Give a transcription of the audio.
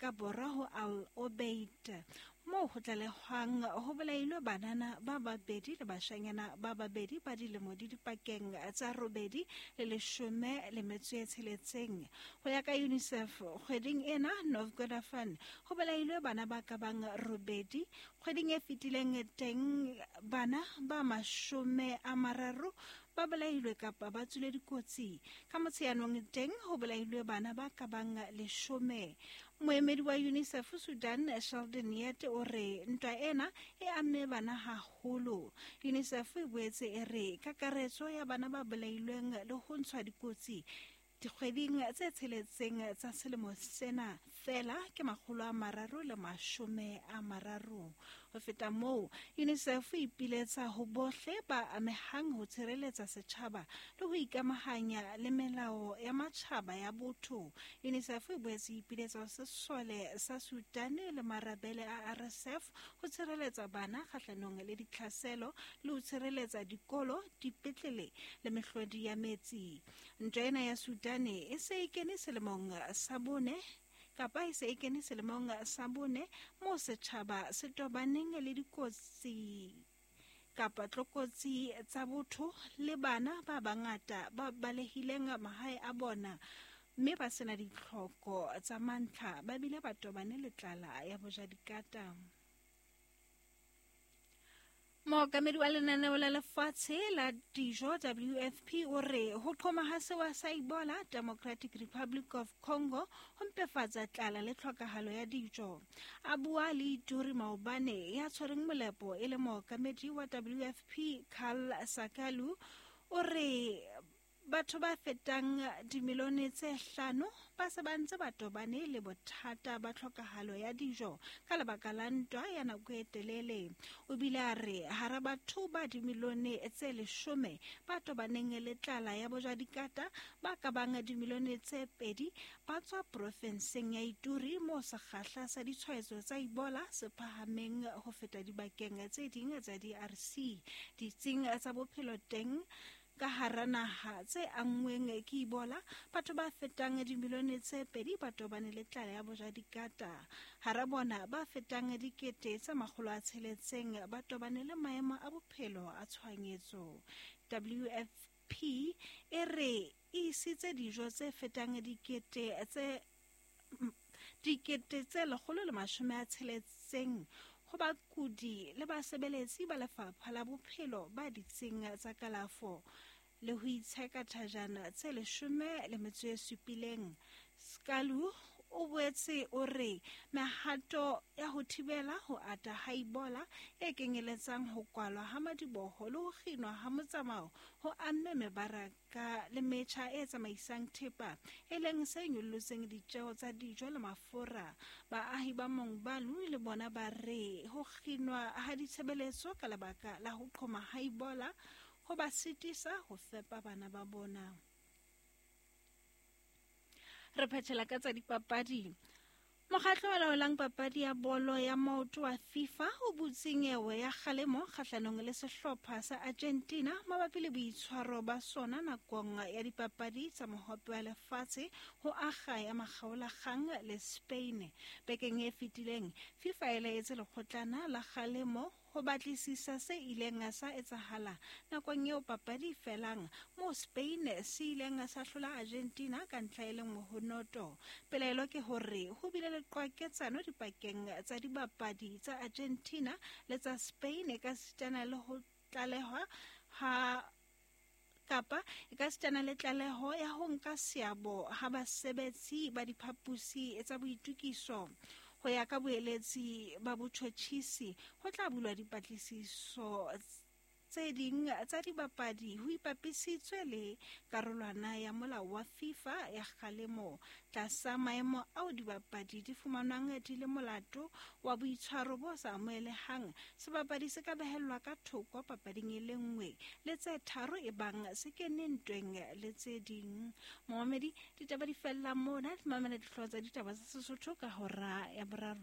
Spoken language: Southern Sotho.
ka borwa ho Al Obeid, moo ho tlalehwang ho bolailwe banana ba babedi le bashanyana ba babedi ba dilemo di dipakeng tsa 8 le 16. Ho ya ka UNICEF, kgweding ena North Kordofan ho bolailwe bana ba ka bang 8. Kgweding e fetileng teng bana ba 30 ba bolailwe kapa ba tswile dikotsi. Ka Motsheanong teng ho bolailwe bana ba ka bang 10. Moemedi wa UNICEF Sudan, Sheldon Yett, o re ntwa ena e amme bana haholo. UNICEF e boetse e re kakaretso ya bana ba bolailweng le ho ntshwa dikotsi dikgweding tse 6 tsa selemo sena fela ke 330. Ho feta moo, UNICEF e ipiletsa ho bohle ba amehang ho tshireletsa setjhaba le ho ikamahanya le melao ya matjhaba ya botho. UNICEF e boetse e ipiletsa ho sesole sa Sudan le marabele a RSF ho tshireletsa bana kgahlanong le ditlhaselo le ho tshireletsa dikolo, dipetlele le mehlodi ya metsi. Ntwa ena ya Sudan e se e kene selemong sa bone kapa e se e kene selemong sa bone moo setjhaba se tobaneng le dikotsi kapa tlokotsi tsa botho le bana ba bangata ba balehileng mahae a bona mme ba sena ditlhoko tsa mantlha, ba bile ba tobane le tlala ya bojadikata. Mookamedi wa lenaneo la lefatshe la dijo WFP o re ho qhoma ha sewa sa Ebola Democratic Republic of Congo ho mpefatsa tlala le tlhokahalo ya dijo. A bua le Ituri maobane, ya tshwereng molepo e le mookamedi wa WFP Karl Sakalu o re batho ba fetang dimilione tse 5 ba se ba ntse ba tobane le bothata ba tlhokahalo ya dijo ka lebaka la ntwa ya nako e telele. O bile a re hara batho ba dimilione tse 10 ba tobaneng le tlala ya bojadikata, ba ka bang dimilione tse 2 ba tswa profenseng ya Ituri moo sekgahla sa ditshwaetso tsa Ebola se phahameng ho feta dibakeng tse ding tsa DRC. Ditsing tsa bophelo teng ka hara naha tse anngweng ke Ebola, batho ba fetang dimilione tse 2 ba tobane le tlala ya bojadikata. Hara bona ba fetang 600,000 ba tobane le maemo a bophelo a tshohanyetso. WFP e re e isitse dijo tse fetang 160,600 ho bakudi le basebeletsi ba lefapha la bophelo ba ditsing tsa kalafo le ho itsheka thajana tse 17. Skalu o boetse o re mehato ya ho thibela ho ata ha Ebola e kenyeletsang ho kwalwa ha madiboho le ho kginwa ha motsamao ho amme mebaraka le metjha e tsamaisang thepa, e leng se nyollotseng ditjeo tsa dijo le mafura. Baahi ba Mongbalu le bona ba re ho kginwa ha ditshebeletso ka lebaka la ho qhoma ha Ebola ho ba sitisa ho fepa bana ba bona. Re phethela ka tsa dipapadi. Mokgatlo o laolang papadi ya bolo ya maoto wa FIFA o butse nyewe ya kgalemo kgahlanong le sehlopha sa Argentina mabapi le boitshwaro ba sona nakong ya dipapadi tsa mohope wa lefatshe ho akga ya makgaolakgang le Spain. Bekeng e fetileng, FIFA e laetse lekgotlana la kgalemo ho batlisisa se ileng sa etsahala nakong eo papadi felang moo Spain se ileng sa hlola Argentina ka ntlha e le nngwe ho noto. Pelaelo ke hore ho bile le qwaketsano dipakeng tsa dibapadi tsa Argentina le tsa Spain ka sitana le ho tlalehwa ha kapa e ka sitana le tlaleho ya ho nka seabo ha basebetsi ba diphaposi tsa boitukiso. Ho ya ka boeletsi ba botjhotjhisi, ho tla bulwa dipatlisiso tse ding tsa dibapadi ho ipapisitswe le karolwana ya molao wa FIFA ya kgalemo. Tlasa maemo ao dibapadi di fumanwang di le molato wa boitshwaro bo sa amohelehang, sebapadi se ka behellwa ka thoko papading e le nngwe le tse 3 ebang se kene ntweng le tse ding. Momamedi, ditaba di fella mona. Mamela dihlooho tsa ditaba tsa Sesotho ka hora ya 3.